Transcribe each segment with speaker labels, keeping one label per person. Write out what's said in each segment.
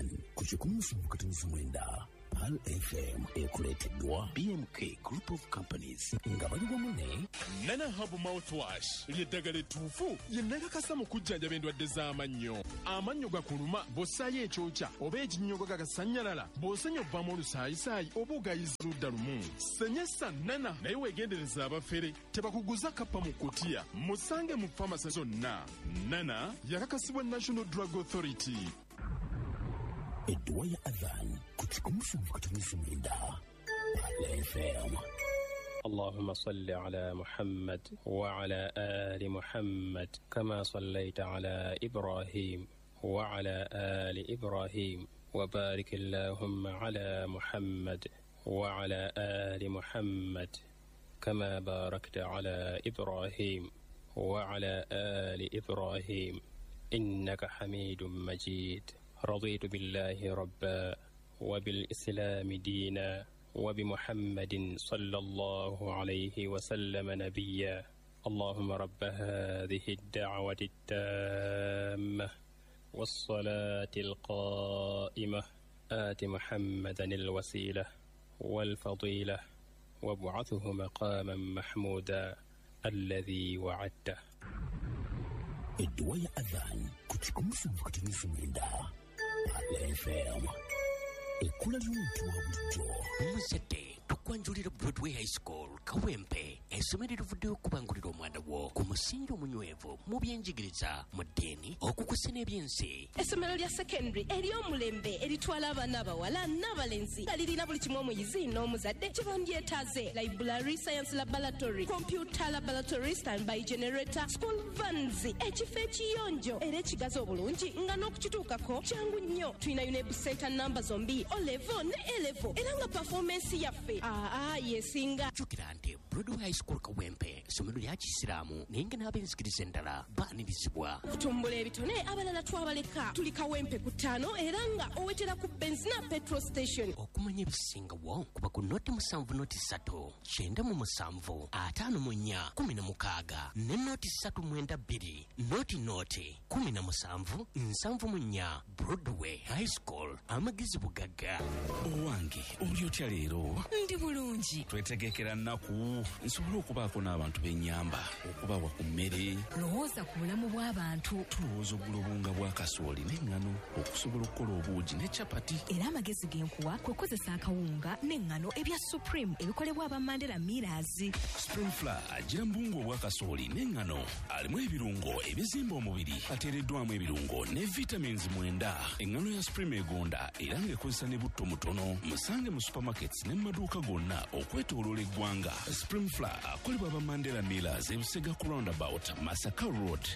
Speaker 1: Adhan ku 107.9 Pearl FM ekuleeteddwa BMK Group of Companies nga bali wamu ne
Speaker 2: Nana Herbal Mouthwash ly'eddagala ettuufu lye nakakasa mu kujjanjaba endwadde z'amannyo. Amannyo gakuluma bw'ossaayo ekyokya oba ekinnyogo gagasannyalala, bw'osenya ovaamu olusaayisaayi oba ogayiza ludda lumu. Senyesa Nana, naye weegendereza abafere tebakuguza kappa mu kutiya. Musange mu famasi zonna. Nana yakakasibwa National Drug Authority.
Speaker 1: Edduwa ya Adhan ku 107.9 Pearl FM.
Speaker 3: اللهم صل على محمد وعلى آل محمد كما صليت على إبراهيم وعلى آل إبراهيم، وبارك اللهم على محمد وعلى آل محمد كما باركت على إبراهيم وعلى آل إبراهيم، إنك حميد مجيد. رضيت بالله ربا، وبالإسلام دينا، وبمحمد صلى الله عليه وسلم نبيا. اللهم رب هذه الدعوة التامة والصلاة القائمة، آت محمدا الوسيلة والفضيلة، وابعثه مقاما محمودا الذي وعدته.
Speaker 1: Edduwa ya Adhan ku 107.9 Pearl FM, ekkula ly'omuntu wa bulijjo.
Speaker 4: Omuzadde, tukwanjulira Broadway High School Kawempe, essomero erivuddeyo okubangulira omwana wo ku musingi omunywevu mu byenjigiriza, mu ddiini, okukusa n'ebyensi.
Speaker 5: Essomero lya secondary ery'omulembe eritwala abaana abawala n'abalenzi, nga lirina buli kimu omuyizi n'omuzadde kye bandyetaaze: library, science laboratory, computer laboratory, standby generator, school vans, ekifo ekiyonjo era ekigazi obulungi nga n'okukituukako kyangu nnyo. Tulina UNEB center namba zombi, O level ne A level, era nga performance yaffe aa yesinga.
Speaker 4: Jjukira nti Broadway High School Kawempe essomero lya Kisiraamu, naye nga n'ab'enzikiriza endala baanirizibwa.
Speaker 5: Okutumbula ebitone, abalala twabaleka. Tuli Kawempe ku 5 era nga owetera ku Benzina petrol station.
Speaker 4: Okumanya ebisingawo kuba ku 070 03 97 54 16 ne 03 92 00 17 74. Broadway High School, amagezi bugagga.
Speaker 6: Owange, oli otya leero?
Speaker 7: Ndi bulungi.
Speaker 6: Twetegekera nnaku nsobole okubaako n'abantu b'ennyamba okubawa ku mmere.
Speaker 7: Lowooza ku bulamu bw'abantu.
Speaker 6: Tulowooza ogula obuwunga bwa kasooli n'eŋŋano okusobola okukola obuugi ne capati.
Speaker 7: Era amagezi ge nkuwa kwe kukozesa akawunga n'eŋŋano ebya Supreme ebikolebwa aba Mandela Millers.
Speaker 6: Supreme Flour agira mu buwunga obwa kasooli n'eŋŋano, alimu ebirungo ebizimba omubiri, ateereddwamu ebirungo ne vitamins 9. Eŋŋano ya Supreme egonda era ng'ekozesa ne butto mutono. Musange mu supermarkets ne mu maduuka gonna okwetooloola eggwanga. Supreme Flour akolebwa aba Mandela Millers, ebusega ku roundabout, Masaka Road.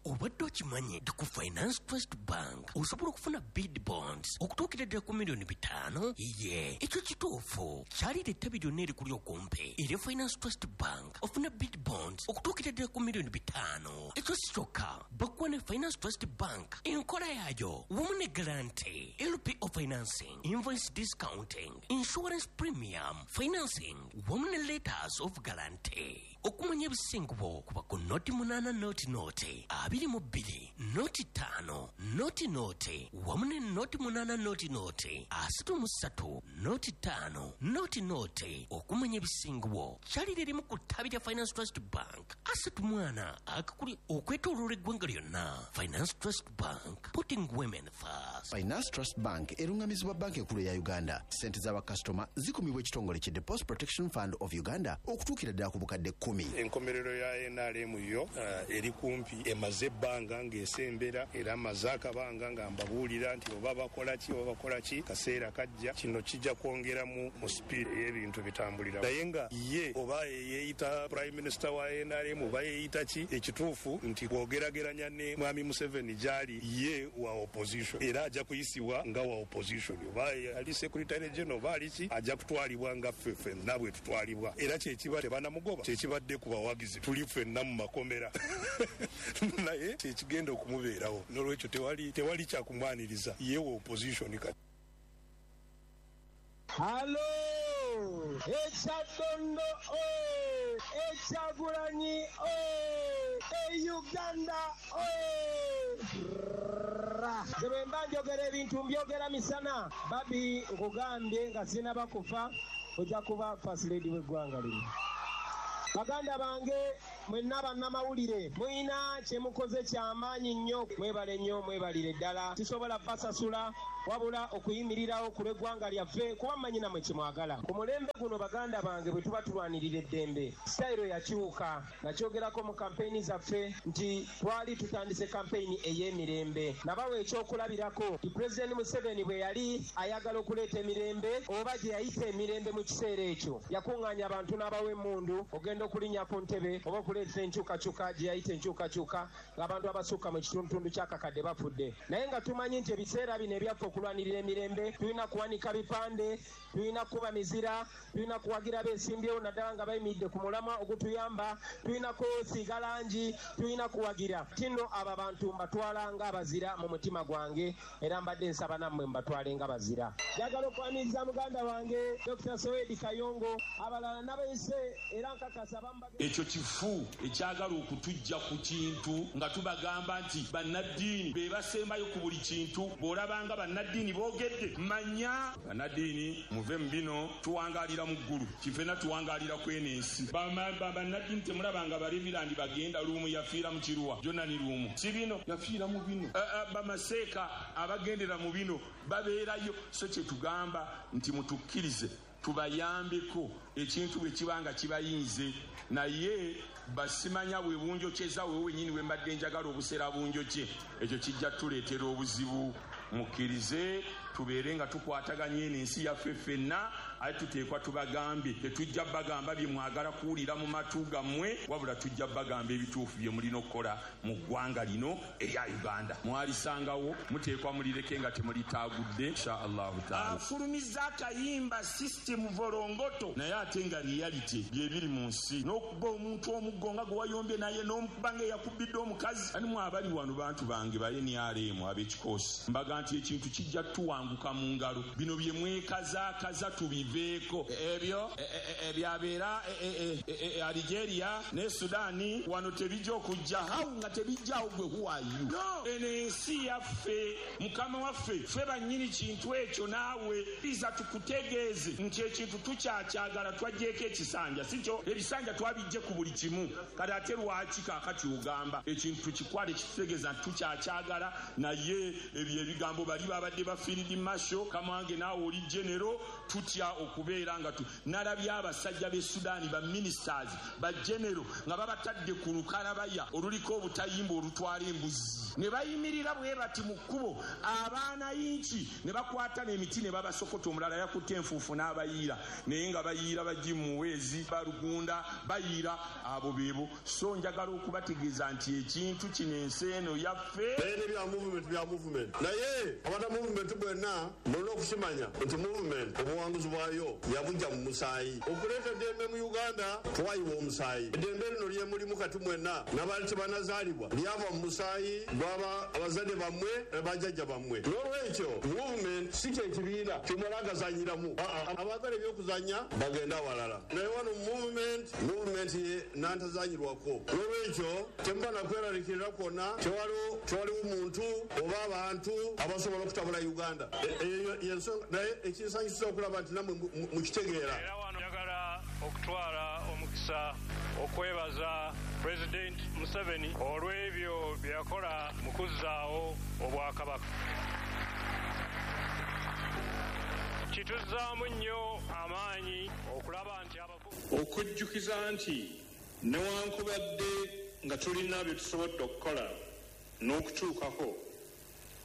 Speaker 4: Obadde okimanyi nti ku Finance Trust Bank osobola okufuna bid bonds okutuukira ddala ku miliyoni 5? Ye, ekyo kituufu. Kyalira ettabi lyonna erikuli okumpi era Finance Trust Bank ofuna bid bonds okutuukira ddala ku miliyoni 5. Ekyo si kyokka, bakuwa ne Finance Trust Bank enkola yaayo wamu ne guarantee, LPO financing, invoice discounting, insurance premium financing wamu ne letters of guarantee. Okumanya ebisingubo kuba ku 080 00 22 05 00 wamu ne 08 00 33 05 00. Okumanya ebisingubo kyalira erimu ku ttabi lya Finance Trust Bank asatu mwana akakuli okwetooloola eggwanga lyonna. Finance Trust Bank, putting women first.
Speaker 8: Finance Trust Bank erungamizibwa Banka Enkulu eya Uganda. Sente z'abakasitoma zikumibwa ekitongole ki Deposit Protection Fund of Uganda okutuukira ddala ku bukadde 10.
Speaker 9: Enkomerero ya NRM yo eri kumpi, emaze ebbanga ng'esembera, era amaze akabanga nga mbabuulira nti oba bakola ki oba bakola ki, kaseera kajja kino kijja kwongeramu mu sipiidi ey'ebintu bitambulira. Naye nga ye oba yeeyita prime minister wa NRM oba yeeyita ki, ekituufu nti bw'ogerageranya ne Mwami Museveni gy'ali, ye wa opposition era ajja kuyisibwa nga wa opposition. Oba ali secretary general oba ali ki, ajja kutwalibwa nga ffe ffenna bwe tutwalibwa. Era kyekiba tebanamugoba, kyekibadde ku bawagizi, tuli ffenna mu makomera, naye kyekigenda okumubeerawo. Nolwekyo tewali kyakumwaniriza, ye wa opposition kati.
Speaker 10: Halo! Ekyadondo o! Ekyagulanyi oye! E Uganda oye! Nze bwe mba njogera ebintu mbyogera misana. Babi, nkugambye nga sinaba kufa, ojja kuba First Lady w'eggwanga lino. Baganda bange mwenna bannamawulire, mulina kye mukoze kyamaanyi nnyo, mwebale nnyo, mwebalire ddala. Sisobola basasula wabula okuyimirirawo ku lw'eggwanga lyaffe, kuba mmanyi nammwe kyemwagala. Ku mulembe guno, baganda bange, bwe tuba tulwanirira eddembe, sitayiro yakyuka. Nakyogerako mu kampeyini zaffe nti twali tutandise kampeyini ey'emirembe. Nabawa ekyokulabirako nti Pulezidenti Museveni bwe yali ayagala okuleeta emirembe, oba gye yayita emirembe mu kiseera ekyo, yakuŋŋaanya abantu n'abawa emmundu ogenda okulinnya ku ntebe oba okuleeta enkyukakyuka gye yayita enkyukakyuka, ng'abantu abasukka mu kitundutundu ky'akakadde bafudde. Naye nga tumanyi nti ebiseera bino ebyaffe okulwanirira emirembe, tulina kuwanika bipande, tulina kukuba mizira, tulina kuwagira beesimbyewo naddala nga bayimiridde ku mulamwa ogutuyamba, tulina kwesiiga langi, tulina kuwagira kino. Abo abantu mbatwala ng'abazira mu mutima gwange, era mbadde nsaba nammwe mbatwale nga bazira. Njagala okwaniriza muganda wange Dr. Sowedi Kayongo, abalala n'abayise, era nkakasa bambaga.
Speaker 11: Ekyo kifu ekyagala okutujja ku kintu nga tubagamba nti bannaddiini be basembayo ku buli kintu. Bw'olabanga bannaddiini boogedde, manya bannaddiini muve mu bino. Tuwangaalira mu ggulu, kifena tuwangaalira kweno ensi. Bannaddiini temulabanga barevirandi bagenda. Luumu yafiira mu kiruwa, Jonani Luumu, si bino yafiira mu bino. Bamaseeka abagendera mu bino babeerayo. So kyetugamba nti mutukkirize tubayambeko ekintu bwe kiba nga kibayinze, naye basimanya bwe bunjokyeza wewe wenyini. We mbadde njagala obusera bunjokye, ekyo kijja tuleetera obuzibu. Mukkirize tubeere nga tukwataganye eno ensi yaffe ffenna, ate tuteekwa tubagambe. Tetujja bagamba bye mwagala kuwulira mu matu gammwe, wabula tujja bagamba ebituufu bye mulina okukola mu ggwanga lino erya Uganda. Mwalisangawo, muteekwa mulireke nga temulitaagudde, insha Allahu taala. Afulumizza akayimba "System Volongoto", naye ate nga reality byebiri mu nsi, n'okuba omuntu omuggo nga gwe wayombye naye n'omukuba nga eyakubidde omukazi. Ani mu abali wano, bantu bange ba NRM ab'ekikoosi, mbaga nti ekintu kijja tuwanguka mu ngalo. Bino bye mwekazaakaza tubiveeko. Ebyo ebyabeera Algeria ne Sudaani wano tebijja okujja hawu nga tebijjaawo. Gwe, who are you? No, eno ensi yaffe, mukama waffe, ffe bannyini kintu ekyo. Naawe iza tukutegeeze nti ekintu tukyakyagala. Twaggyeko ekisanja, si kyo? Ebisanja twabijje ku buli kimu. Kati ate lwaki kaakati ogamba ekintu tukikwale? Kitutegeeza nti tukyakyagala, naye ebyo ebigambo bali babadde ba field marshal kamange, naawe oli general. Tutya okubeera nga nalabye abasajja b'e Sudaani, ba ministers, ba general, nga babatadde ku lukalabaya oluliko obutayimba olutwala embuzi, ne bayimirira bwe bati mu kkubo, abaana yinki ne bakwata n'emiti ne babasokota. Omulala yakutte enfuufu n'abayiira, naye nga bayiira bagimuweezi balugunda bayiira abo beebo. So njagala okubategeeza nti ekintu kino, ensi eno yaffe.
Speaker 12: Naye nebya movement, bya movement, naye abata movement bwenna mulina okukimanya nti movement obuwanguzi bwayo yabujja mu musaayi. Okuleeta eddembe mu Uganda twayiwa omusaayi. Eddembe lino lyemulimu kati mwenna n'abaali tebanazaalibwa lyava mu musaayi gwaba abazadde bammwe, bajjajja bammwe. N'olwekyo movement si kyekibiina kyomala agazanyiramu. Abaagala ebyokuzanya bagenda walala, naye wano movement, movement nantazanyirwako. N'olwekyo temuba nakweraliikirira kwonna, tewaliwo muntu oba abantu abasobola okutabula Uganda. Eyo yensonga, naye ekinsanyusa okulaba nti nammwe mukitegeera.
Speaker 13: Era wano njagala okutwala omukisa okwebaza Pulezidenti Museveni olw'ebyo bye yakola mu kuzzaawo obwakabaka. Kituzzaamu nnyo amaanyi okulaba nti
Speaker 14: okujjukiza nti newankubadde nga tulina bye tusobodde okukola n'okutuukako,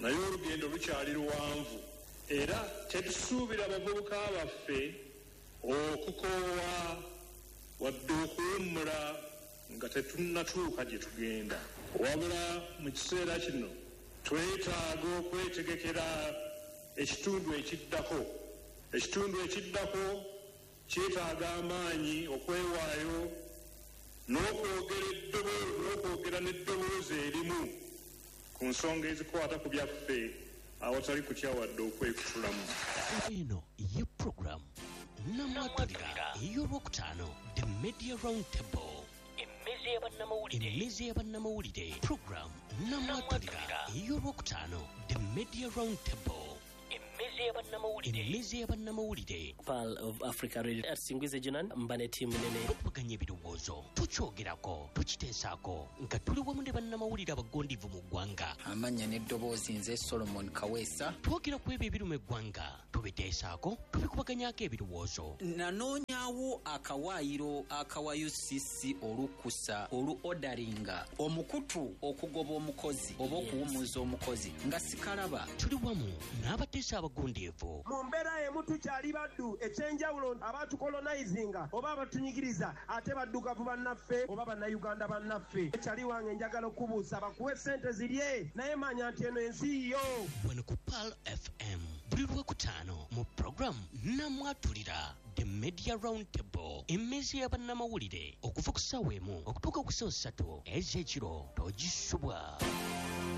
Speaker 14: naye olugendo lukyali luwanvu, era tetusuubira bavubuka baffe okukoowa wadde okuwummula nga tetunnatuuka gye tugenda. Wabula mu kiseera kino twetaaga okwetegekera ekitundu ekiddako. Ekitundu ekiddako kyetaaga amaanyi, okwewaayo n'okwogera n'eddoboozi erimu ku nsonga ezikwata ku byaffe awatali kutya wadde okwekutulamu.
Speaker 1: Eno ye puroguramu
Speaker 4: Namwatulira ey'Olwokutaano, The Media Round Table, Emmeza y'Abannamawulire. Program Namwatulira ey'Olwokutaano, The Media Round Table, Emmeza y'Abannamawulire.
Speaker 15: Pearl of Africa Radio Singwize Jonan mba ne ttiimu nene.
Speaker 4: Tukubaganya ebirowoozo, tukyogerako, tukiteesaako nga tuli wamu ne bannamawulire abagondivu mu ggwanga.
Speaker 16: Amannya n'eddoboozi, nze Solomon Kaweesa.
Speaker 4: Twogera ku ebyo ebiruma eggwanga, tubiteesaako, tubikubaganyako ebirowoozo.
Speaker 16: Nanoonyawo akawaayiro akawa UCC olukusa olu odaringa omukutu okugoba omukozi oba okuwummuza omukozi nga sikalaba.
Speaker 4: Tuli wamu n'abateesa abagundiivu.
Speaker 10: Mu mbeera emu tukyali baddu. Ekyenjawulo, abatukolonizinga oba abatunyigiriza ate baddugavu bannaffe oba Bannayuganda bannaffe. Ekyali wange, njagala okubuusa, bakuwe sente zirye, naye manya nti eno ensi yo.
Speaker 4: Wano ku Pearl FM buli Lwokutaano mu puroguramu Namwatulira, The Media Round Table, emmeeza y'abannamawulire, okuva ku ssaawa 1 okutuuka ku ssaawa 3 ez'ekiro. Togisubwa.